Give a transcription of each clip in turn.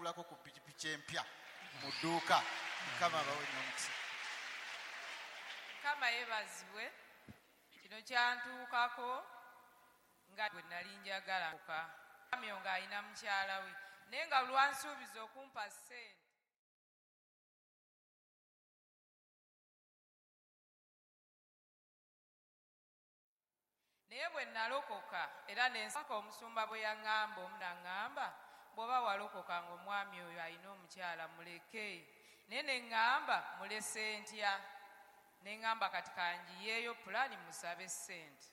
ngulako ku pikipiki empya mu dduuka. Mukama abawe nnyo omukisa. Mukama yeebazibwe. Kino kyantuukako nga bwe nali njagala omwami ng'alina mukyala we, naye nga lwansuubiza okumpa ssente. Naye bwe nalokoka era nensaka omusumba bwe yaŋŋamba, omu naŋŋamba bw'oba walokoka ng'omwami oyo alina omukyala muleke, naye ne ŋŋamba mulese ntya, ne ŋŋamba kati kangiyeeyo pulaani musabe ssente.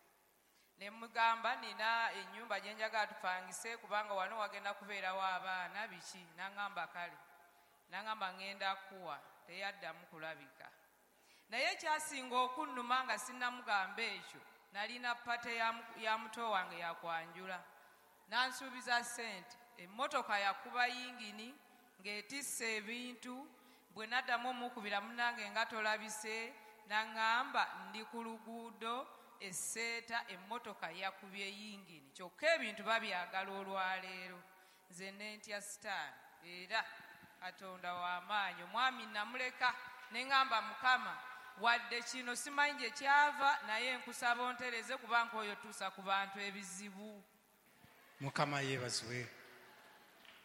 Ne mugamba nina ennyumba gye njagala tupangise kubanga wano wagenda kubeerawo abaana biki, naŋŋamba kale, naŋŋamba ŋŋenda kuwa, teyaddamu kulabika. Naye ekyasinga okunnuma nga sinnamugamba ekyo, nalina pate ya muto wange yakwanjula, nansuubiza ssente, emmotoka yakuba yingini ng'etisse ebintu. Bwe naddamu omukubira munnange nga tolabise, naŋŋamba ndi ku luguudo esseeta, emmotoka yakubye yingini, kyokka ebintu babyagala olwaleero. Nze nentya sitaani, era Katonda w'amaanyi. Omwami namuleka ne ŋŋamba Mukama, wadde kino simanyi gye kyava, naye nkusaba ontereze kubanga oyo tuusa ku bantu ebizibu. Mukama yeebazibwe.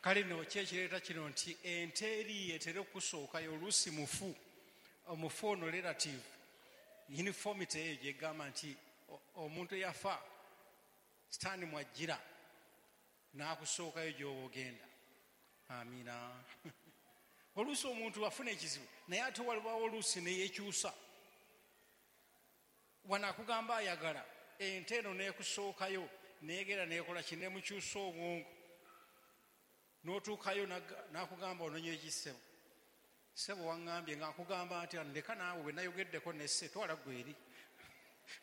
Kale nno ki ekireeta kino nti ente eri etera okusookayo oluusi mufu, omufu ono relative uniformity eyo gyegamba nti omuntu eyafa sitaani mwajjira n'akusookayo gy'oba ogenda. Amiina. Oluusi omuntu afuna ekizibu naye ate waliwo oluusi neyekyusa. Wano akugamba ayagala ente eno n'ekusookayo neegera neekola ki, nemukyusa obwongo n'otuukayo n'akugamba ononye ekisebo. Ssebo waŋŋambye ng'akugamba nti ndeka naawe bwe nayogeddeko nesse twala ggwe eri.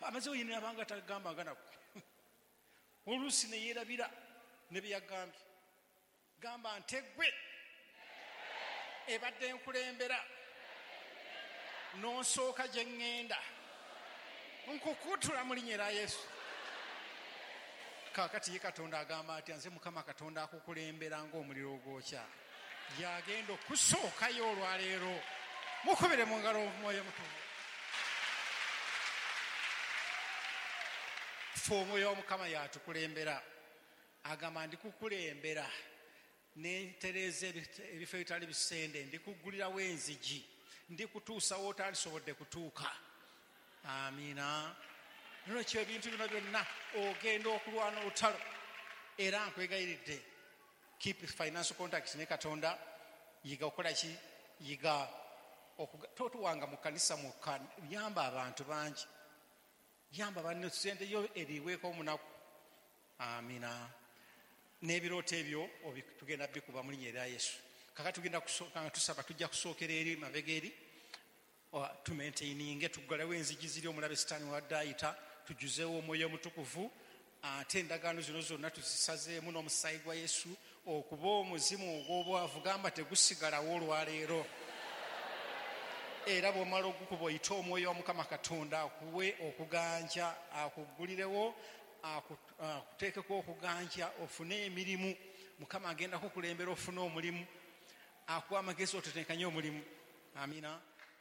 Amaze oyinira abanga tagambanga nako. Oluusi ne yeerabira ne bye yagambye. Gamba nte ggwe ebadde nkulembera n'onsooka gye ŋŋenda, nkukutula mu linnya erya Yesu. Kaakati ye Katonda agamba atya? Nze Mukama Katonda akukulembera ng'omuliro ogwokya, yagenda okusookayo olwaleero. Mukubire mu ngalo omwoyo mutukuvu. Ffe omwoyo wa Mukama yatukulembera, agamba ndikukulembera nentereeza ebifo ebitali bisende, ndikuggulirawo enzigi, ndikutuusawo otalisobodde kutuuka. Amiina. Nolwekyo ebintu bino byonna ogenda okulwana olutalo, era nkwegayiridde keep financial contact ne Katonda. Yiga okukola ki? Yiga totuwanga mu kkanisa mwokka, yamba abantu bangi, yamba banne, sente yo eriweeko omunaku. Amiina. N'ebirooto ebyo tugenda bikuba mu linnya erya Yesu. Kaakati tugenda kusooka nga tusaba, tujja kusookera eri mabega eri, tumaintaininge, tuggalewo enzigi ziri omulabe sitaani wadde ayita, tujjuzeewo omwoyo omutukuvu, ate endagaano zino zonna tuzisazeemu n'omusaayi gwa Yesu okuba omuzimu ogw'obwavu, gamba tegusigalawo olwaleero. Era bw'omala ogukuba oyite omwoyo wa Mukama Katonda akuwe okuganja, akuggulirewo, akuteekeko okuganja, ofune emirimu. Mukama agenda kukulembera ofune omulimu, akuwa amagezi otetenkanye omulimu. Amiina.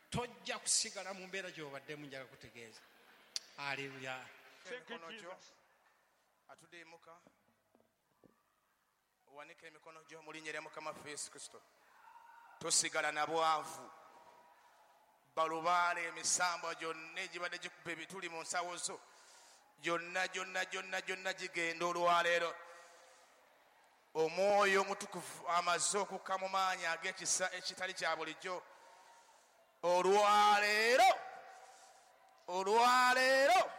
Tojja kusigala mu mbeera gy'obaddemu, njaga kutegeeza. Aleluya. Emikono gyo atudde emuka, owanike emikono gyo mu linnya lya Mukama waffe Yesu Kristo. Tosigala na bwavu. Balubaale emisambwa gyonna egibadde gikuba ebituli mu nsawo zo gyonna gyonna gyonna gyonna gigenda olwaleero. Omwoyo omutukuvu amaze okukka mu maanyi ag'ekisa ekitali kya bulijjo olwaleero, olwaleero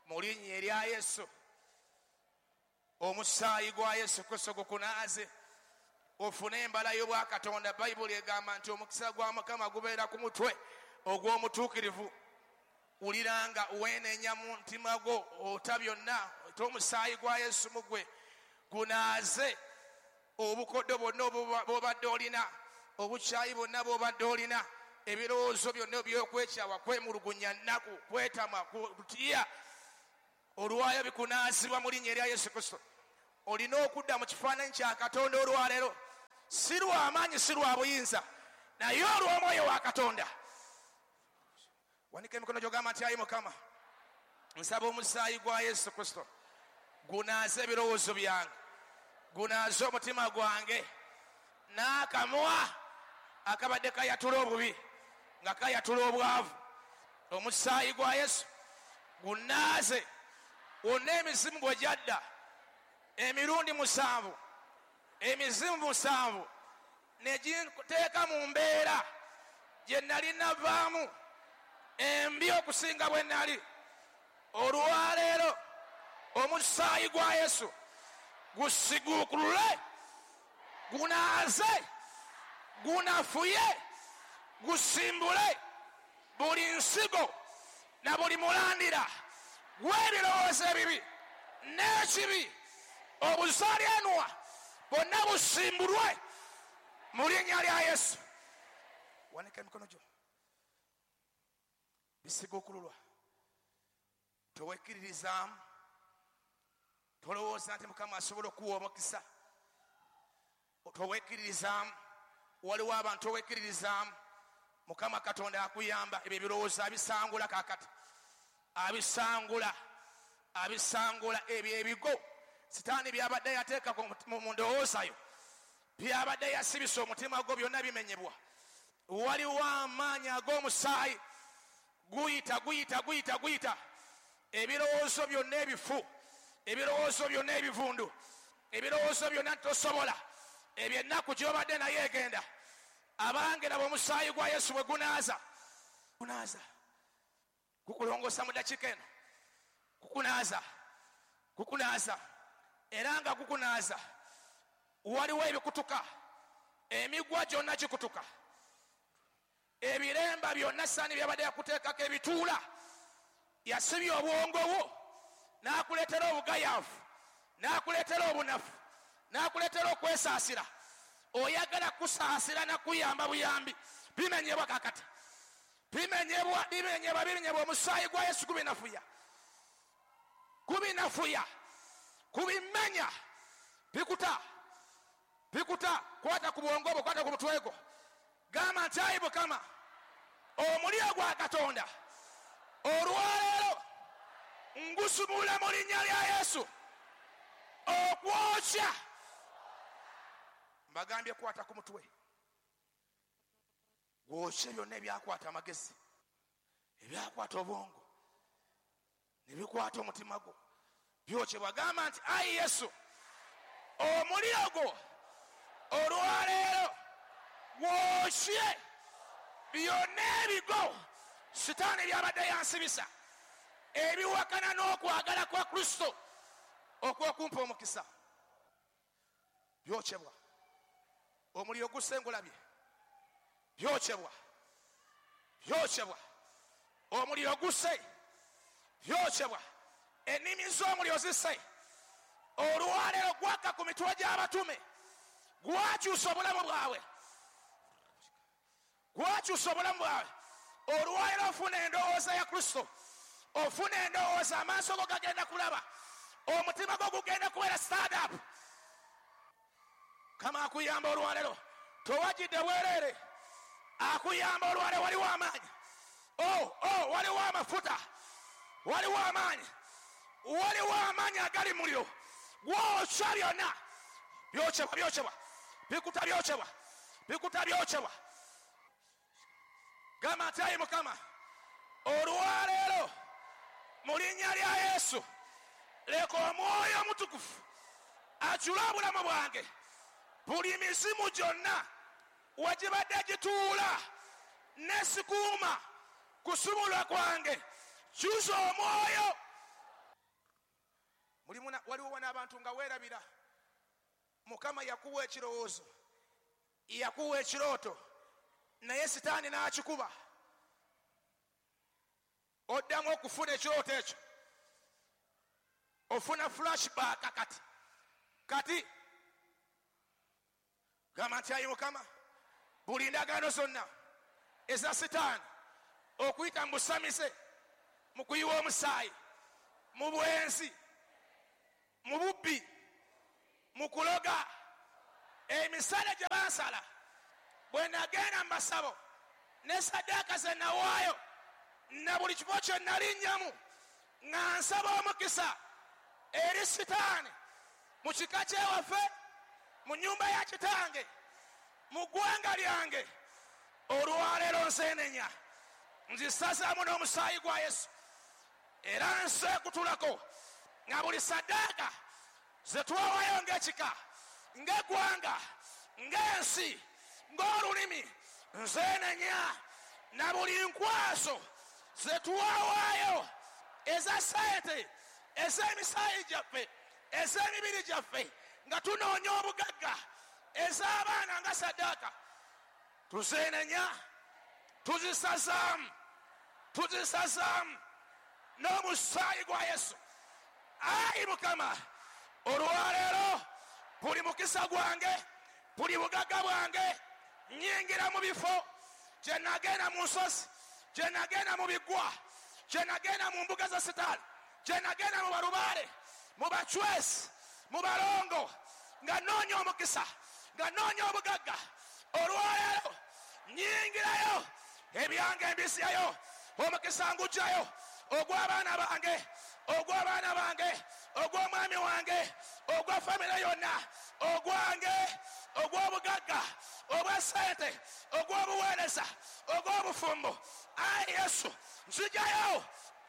mu linnya erya Yesu. Omusaayi gwa Yesu Kristo gukunaaze ofune embala y'obwakatonda. Bayibuli egamba nti omukisa gwa Mukama gubeera ku mutwe ogw'omutuukirivu. Wulira nga weenenya mu mutima gwo ota byonna, ota omusaayi gwa Yesu mu ggwe gunaaze obukoddo bwonna bw'obadde olina, obukyayi bwonna bw'obadde olina, ebirowoozo byonna eby'okwekyawa, kwemulugunya, nnaku, kwetamwa, kutya, olwayo bikunaazibwa mu linnya erya Yesu Kristo. Olina okudda mu kifaananyi kya Katonda olwaleero. Si lwa maanyi, si lwa buyinza, naye olw'omwoyo wa Katonda. Wanika emikono gy'ogamba nti, ayi Mukama, nsaba omusaayi gwa Yesu Kristo gunaaze ebirowoozo byange, gunaaze omutima gwange n'akamwa akabadde kayatula obubi nga kayatula obwavu. Omusaayi gwa Yesu gunaaze wonna emizimu bwe gyadda emirundi 7, emizimu 7 ne ginteeka mu mbeera gye nali navaamu embi okusinga bwe nali. Olwaleero omusaayi gwa Yesu gusiguukulule, gunaaze, gunafuye, gusimbule buli nsigo na buli mulandira gw'ebirowoozo ebibi n'ekibi, obuzaalyanwa bwonna busimbulwe mu linnya lya Yesu. Wanika emikono gyo. Bisiguukululwa. Towekkiririzaamu, tolowooza nti Mukama asobola okuwa omukisa. Towekkiririzaamu. Waliwo abantu owekkiririzaamu, Mukama Katonda akuyamba. Ebyo ebirowoozo abisangula kaakati, abisangula, abisangula. Ebyo ebigo Sitaani byabadde yateeka mu ndowooza yo, byabadde yasibisa omutima gwo, byonna bimenyebwa. Waliwo amaanyi ag'omusaayi guyita, guyita, guyita, guyita. Ebirowoozo byonna ebifu, ebirowoozo byonna ebivundu, ebirowoozo byonna tosobola, ebyennaku gy'obadde naye egenda. Abange, laba omusaayi gwa Yesu bwe gunaaza. Gunaaza, gukulongoosa mu ddakiika eno, gukunaaza, gukunaaza, era nga gukunaaza. Waliwo ebikutuka, emigwa gyonna gikutuka, ebiremba byonna Sitaani byabadde yakuteekako ebituula. Yasibye obwongo bwo n'akuleetera obugayaavu, n'akuleetera obunafu, n'akuleetera okwesaasira. Oyagala kusaasira na kuyamba buyambi, bimenyebwa kakati, bimenyebwa, bimenyebwa, bimenyebwa. Omusaayi gwa Yesu gubinafuya, gubinafuya, gubimenya, bikuta, bikuta. Kwata ku bwongo bwo, kwata ku mutwe gwo, gamba nti, ayi Mukama, omuliro gwa Katonda olwaleero ngusumula mu linnya lya Yesu okwokya. Mbagambye kwata ku mutwe, gwokye byonna ebyakwata amagezi, ebyakwata obwongo, ne bikwata omutima gwo, byokyebwa. Gamba nti, ayi Yesu, omuliro gwo olwaleero gwokye byonna ebigo Sitaani byabadde yansibisa, ebiwakana n'okwagala kwa Kristo okw'okumpa omukisa. Byokyebwa. Omuliro gusengulabye, byokyebwa, byokyebwa. Omuliro guse, byokyebwa. Ennimi z'omuliro zise. Olwaleero gwaka ku mitwe gy'abatume, gwakyusa obulamu bwabwe, gwakyusa obulamu bwabwe. Olwaleero ofuna endowooza ya Kristo, ofuna endowooza, amaaso go gagenda kulaba, omutima gwo gugenda kubeera stand up. Kama akuyamba olwaleero, towagidde bwereere. Akuyamba olwaleero, waliwo amaanyi. Oh, oh, waliwo amafuta, waliwo amaanyi, waliwo amaanyi agali muliro gwokya byonna. Byokyebwa, byokyebwa, bikuta, byokyebwa, bikuta, byokyebwa. Gamba nti, ayi Mukama, olwaleero mu linnya lya Yesu leka omwoyo omutukuvu ajule obulamu bwange. Buli mizimu gyonna wegibadde gituula nesikuuma kusumulwa kwange, kyusa omwoyo. Waliwo wano abantu nga weerabira Mukama yakuwa ekirowoozo, yakuwa ekirooto, naye Sitaani n'akikuba. Oddamu okufuna ekirooto ekyo, ofuna flashback. Kati kati gamba nti, ayi Mukama, buli ndagaano zonna eza Sitaani okuyita mu busamize, mu kuyiwa omusaayi, mu bwenzi, mu bubbi, mu kuloga, Emisale gye bansala bwe nagenda mu masabo ne saddaaka ze nawaayo na buli kifo kye nalinnyamu nga nsaba omukisa eri sitaani mu kika kyewaffe, mu nnyumba ya kitange, mu ggwanga lyange, olwaleero nseenenya, nzisazaamu n'omusaayi gwa Yesu, era nseekutulako nga buli saddaaka ze twawaayo ng'ekika, ng'eggwanga, ng'ensi, ng'olulimi, nzeenenya na buli nkwaso ze twawaayo eza ssente, ez'emisaayi gyaffe, ez'emibiri gyaffe nga tunoonya obugagga, ez'abaana nga saddaaka, tuzeenenya, tuzisazaamu, tuzisazaamu n'omusaayi gwa Yesu. Ayi Mukama, olwaleero buli mukisa gwange, buli bugagga bwange, nnyingira mu bifo gye nagenda mu nsozi, gye nagenda mu biggwa, gye nagenda mu mbuga za sitaani, gye nagenda mu balubaale, mu bacwesi, mu balongo, nga nnoonya omukisa, nga nnoonya obugagga. Olwaleero nnyingirayo, ebyange mbisyayo, omukisa ngugyayo, ogw'abaana bange, ogw'abaana bange, ogw'omwami wange, ogwa famire yonna, ogwange, ogw'obugagga, obwa ssente, ogw'obuweereza, ogw'obufumbo. Ayi Yesu, nzigyayo,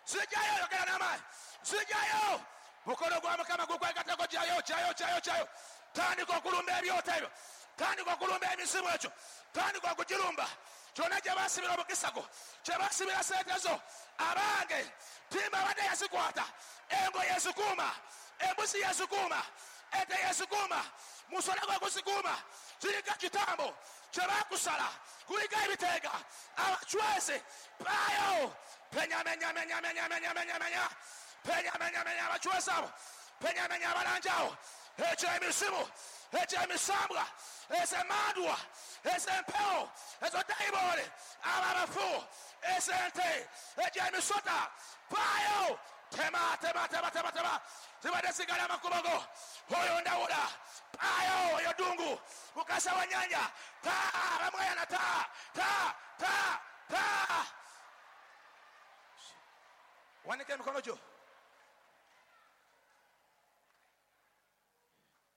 nzigyayo, yogera n'amaanyi, nzigyayo. Mukono gwa Mukama gukwegattako, gyayo, gyayo, gyayo, gyayo. Tandika okulumba ebyoto ebyo, tandika okulumba emizimu ekyo, tandika okugirumba. Kyonna gye baasibira omukisa gwo, kye baasibira ssente zo, abange, timba abadde yazikwata, engo yezikuuma, embuzi yezikuuma, ente yezikuuma, musola gwe guzikuuma, kiriko kitambo kye baakusala, kuliko ebiteega, abacwezi, paayo, penya, menya, menya, menya, menya, menya, menya, penya, menya, menya, abacwezi abo, penya, menya, abalanja awo, ekyo emisimu, ekyo emisambwa, ez'emmandwa, ez'empewo, ezo dayimooni, abo abafu, ez'ente, egyo emisota, paayo, tema, tema, tema, tema, tema, zibadde zigala amakubo go, oyo ndawula, paayo, oyo ddungu, mukasa wa nnyanja, ta, bamweyana, ta, ta, ta, ta. Wanika emikono gyo,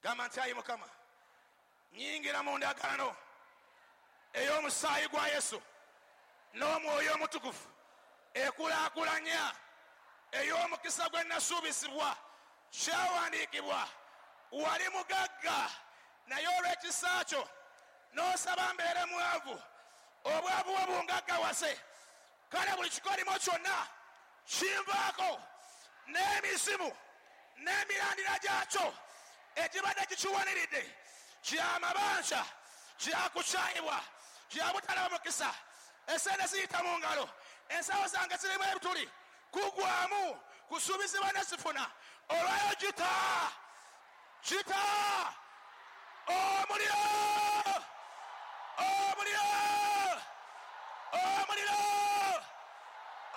gamba nti ayi Mukama, nnyingira mu ndagaano ey'omusaayi gwa Yesu n'omwoyo omutukuvu ekulaakulanya ey'omukisa gwe nasuubizibwa. Kyawandiikibwa, wali mugagga naye olw'ekisa kyo n'osaba mbeere mwavu, obwavu bwo bungaggawaze. Kale buli kikolimo kyonna kinvaako, n'emizimu n'emirandira gyakyo ekibadde kikiwaniridde, kyamabanja, kyakukyayibwa, kyabutalaba mukisa, esente ziyita mu ngalo, ensawo zange zirimu ebituli, kugwamu, kusuubizibwa ne sifuna. Olwayo gita, gita, omuliro, omuliro, omuliro,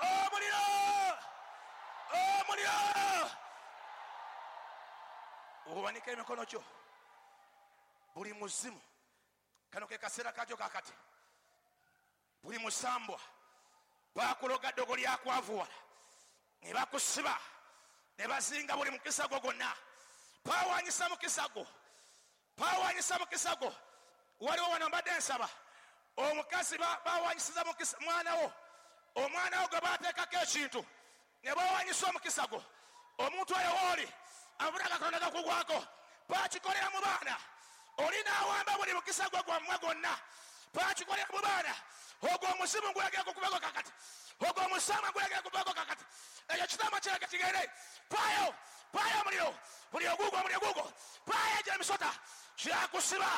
omuliro, omuliro. Owanika emikono gyo, buli muzimu, kano ke kaseera kakyo kakati, buli musambwa bakuloga ddogo lyakwavuwala ne bakusiba ne bazinga buli mukisa gwo gwonna, baawanyisa mukisa gwo, baawanyisa mukisa gwo. Waliwo wano mbadde nsaba omukazi baawanyisiza mukisa mwana wo, omwana wo gwe baateekako ekintu ne baawanyisa omukisa gwo. Omuntu oyo wooli amafuta Katonda gakugwako, baakikolera mu baana, oli n'awamba buli mukisa gwe gwammwe gwonna, baakikolera mu baana. Ogwo omuzimu ngulagera gukubako kakati, ogwo omusambwa ngulagera gukubako kakati, ekyo kitambo kirage kigende. Paayo, paayo omuliro, buli ogugo, omuliro gugo, paayo egyo emisota kyakusiba,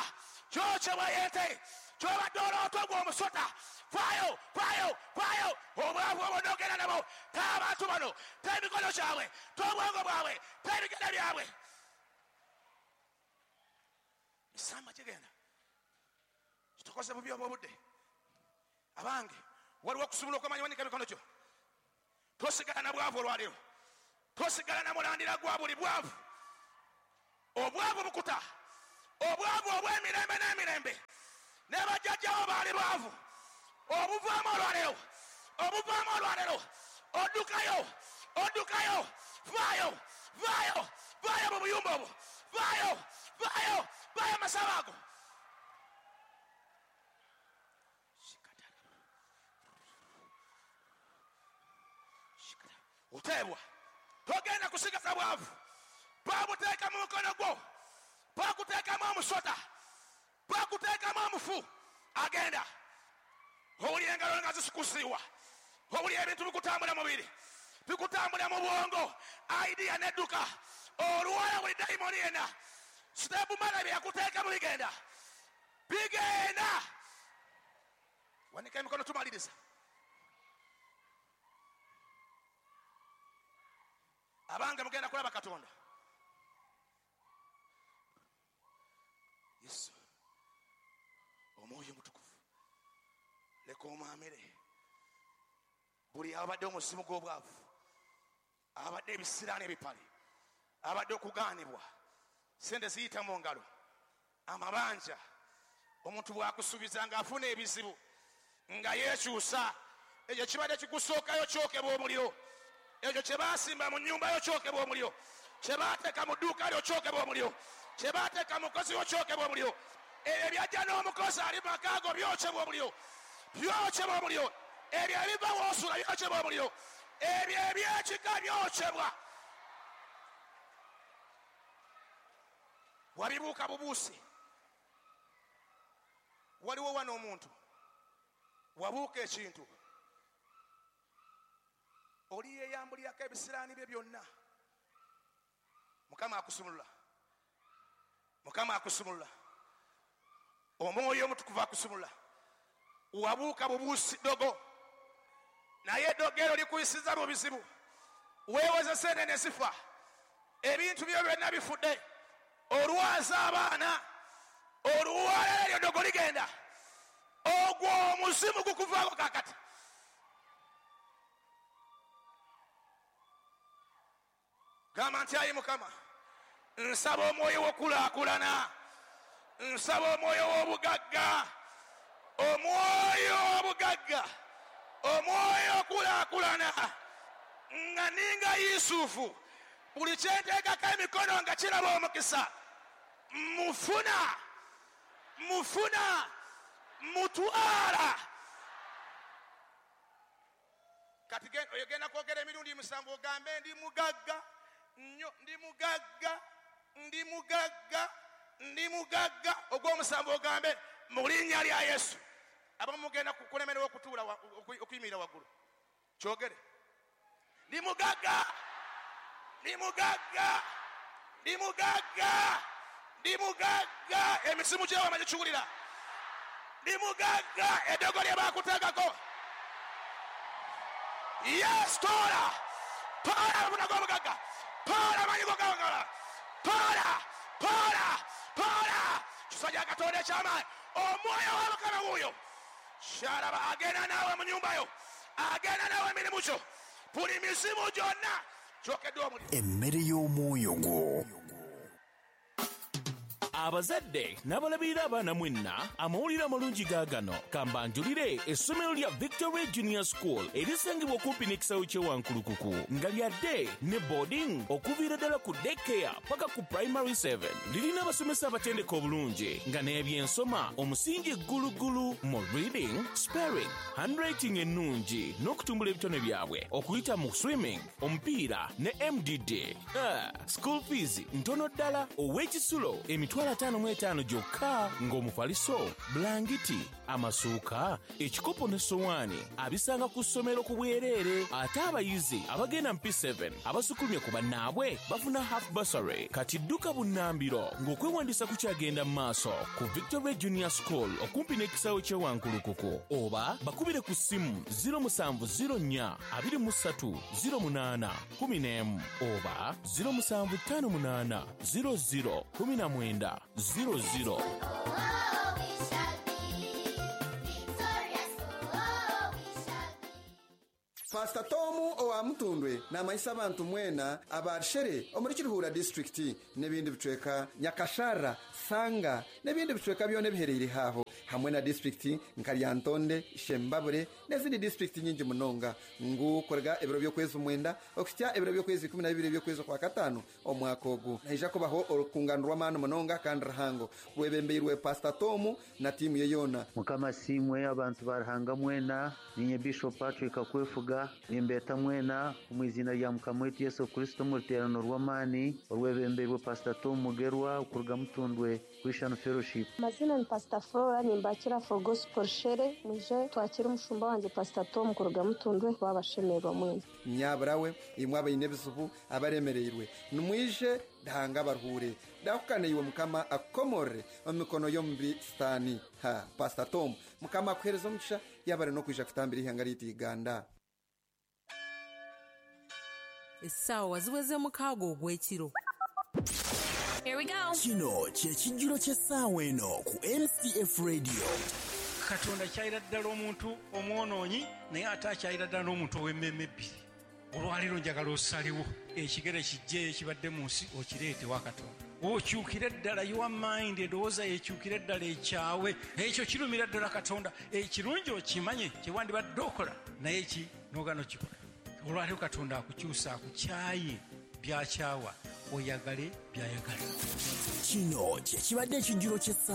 kyokyebwa ente, kyobadde oloota ogwo omusota. Paayo, paayo, paayo, obwavu obwo n'ogenda nabo, ta abantu bano, ta emikono gyabwe, ta obwongo bwabwe, ta ebigere byabwe. Misamba kigenda kitukoze bubi obw'obudde. Abange, waliwo okusobola okwamanya. Wanika emikono gyo, tosigala na bwavu olwaleero, tosigala na mulandira gwa buli bwavu. Obwavu bukuta, Obwavu obw'emirembe n'emirembe. Ne bajjajjaawo baali baavu. Obuvaamu olwaleero. Obuvaamu olwaleero. Oddukayo. Oddukayo. Vaayo. Vaayo. Vaayo mu buyumba obwo. Vaayo. Vaayo. Vaayo amasabo ago. Oteebwa. Togenda kusigaza bwavu. Babuteeka mu mukono gwo. Bakuteekamu omusota. Bakuteekamu omufu. Agenda. Owulira engalo nga zisikusiiwa. Owulira ebintu bikutambula mubiri. Bikutambula mu bwongo. Idea n'edduka. Olwala buli dayimoni yenna. Siteepu mala bye yakuteekamu bigenda. Bigenda. Wanika emikono tumaliriza. Abange mugenda kulaba Katonda. Yesu. Omwoyo Omutukuvu. Leka omwamire. Buli abadde omuzimu gw'obwavu. Abadde ebisiraani ebipale. Abadde okugaanibwa. Sente ziyita mu ngalo. Amabanja. Omuntu bw'akusuubiza ng'afuna ebizibu. Nga yeekyusa. Ekyo kibadde kikusookayo kyokebwa omuliro. Ekyo kye baasimba mu nnyumba yo kyokebwa omuliro. Kye baateeka mu dduuka lyo kyokebwa omuliro. Kye baateeka mu mukozi wo kyokebwa omuliro. Ebyo byajja n'omukozi ali mu maka go byokebwa omuliro. Byokebwa omuliro. Ebyo ebiva w'osula byokebwa omuliro. Ebyo eby'ekika byokebwa. Wabibuuka bubuusi. Waliwo wano omuntu wabuuka ekintu. Oli yeeyambulirako ebisiraani bye byonna. Mukama akusumulula. Mukama akusumulula. Omwoyo Omutukuvu akusumulula. Wabuuka bubuusi ddogo. Naye eddogo eryo likuyisiza mu bizibu. Weewoze sente ne zifa. Ebintu byo byonna bifudde. Olwaza abaana. Olwala eryo ddogo ligenda. Ogwo omuzimu gukuvaako kaakati. Gamba nti ayi Mukama, nsaba omwoyo w'okulaakulana, nsaba omwoyo w'obugagga, omwoyo w'obugagga, omwoyo okulaakulana, nga ninga Yusufu, buli kye nteekako emikono nga kiraba omukisa, mufuna, mufuna, mutwala. Kati ogenda kwogera emirundi 7 ogambe ndi mugagga. Nnyo ndi mugagga, ndi mugagga, ndi mugagga. Ogw'omusanvu ogambe mu linnya lya Yesu. Abamu mugenda kulemererwa okutuula okuyimirira waggulu. Kyogere. Ndi mugagga, ndi mugagga, ndi mugagga, ndi mugagga. Emisimu gy'ewama gikiwulira. Ndi mugagga. Eddogo lye baakuteekako. Yes, toola. Toola amafuna g'obugagga. Tola amanyi g'ogawangala. Tola, tola, tola. Kisajja Katonda eky'amaanyi. Omwoyo wa Mukama wuuyo. Kyalaba agenda naawe mu nnyumba yo. Agenda naawe emirimu gyo. Buli mizimu gyonna gyokeddwa omuliro. Emmere y'omwoyo gwo. Abazadde n'abalabirira abaana mwenna, amawulire amalungi gaagano. Kambanjulire essomero lya Victory Junior School erisangibwa okumpi n'ekisaawe ky'e Wankulukuku nga lya day ne boarding okuviira ddala ku daycare paka ku primary 7. Lirina abasomesa abatendeka obulungi nga n'ebyensoma omusingi ggulugulu mu reading, spelling, handwriting ennungi n'okutumbula ebitone byabwe okuyita mu swimming, omupiira ne MDD. School fees ntono ddala ow'ekisulo emitwalo 55 gyokka ng'omufaliso, bulangiti, amasuuka, ekikopo ne sowaani abisanga ku ssomero ku bwereere. Ate abayizi abagenda mu P7 abasukulumye ku bannaabwe bafuna half bursary. Kati dduka bunnambiro ng'okwewandiisa kukyagenda mu maaso ku Victory Junior School okumpi n'ekisaawe ky'e Wankulukuku oba bakubire ku ssimu 0704 23 08 11 oba 0758 00 19 00. Oh, we shall be victorious. Oh, we shall be. Pastor Tomu Owa Mutundwe namanyisa abantu mwena abarshere omuri Kiruhura disitulikiti n'ebindi bicweka, Nyakashara, Sanga n'ebindi bicweka byona ebihereire haho, hamwe na disitulikiti nka Lyantonde, Shembabure n'ezindi disitulikiti nyingi munonga, ngu korega ebiro by'okwezi 9 okuhitsya ebiro by'okwezi 12 by'okwezi kwa 5 omwaka ogu, naija kubaho orukungano rw'amaani munonga kandi ruhango rwebembeirwe Pastor Tomu na tiimu ye yoona. Mukama simwe abantu barahanga mwena, ninye Bishop Patrick Akwefuga, nimbeta mwena omu izina rya Mukama wetu Yesu Kristo mu ruteerano rw'amaani orwebembeirwe Pastor Tom Mugerwa okuruga Mutundwe Christian Fellowship. Amazina ni Pastor Flora, nimbakira for Gospel Shere, mwije twakira umushumba wanje Pastor Tom kuruga Mutundwe, babashemerwa mwena. Nyaburawe imwe abaine ebizibu abaremereirwe, nimwije dahanga baruhure dahukane iwe Mukama akukomorere omu mikono y'omubi Sitaani. Ha Pastor Tom, Mukama akuhereza omugisha yabare n'okwija kutambira ihanga ryaitu Uganda. Essaawa ziweze 6 ogw'ekiro. Here we go. Kino kye kijjulo ky'essaawa eno ku MCF Radio. Katonda kyayira ddala omuntu omwonoonyi, naye ate akyayira ddala n'omuntu ow'emmeeme ebbiri. Olwaleero njagala osalewo ekigere kijje ekibadde mu nsi okireete wa Katonda, okyukire ddala your mind, endowooza yekyukire ddala ekyawe. Ekyo kirumira ddala Katonda. Ekirungi okimanye kyewandibadde okola, naye ki n'ogaana okikola. Olwaleero Katonda akukyusa, akukyaye byakyawa, oyagale byayagala. Kino kye kibadde ekijjulo ky'essaawa.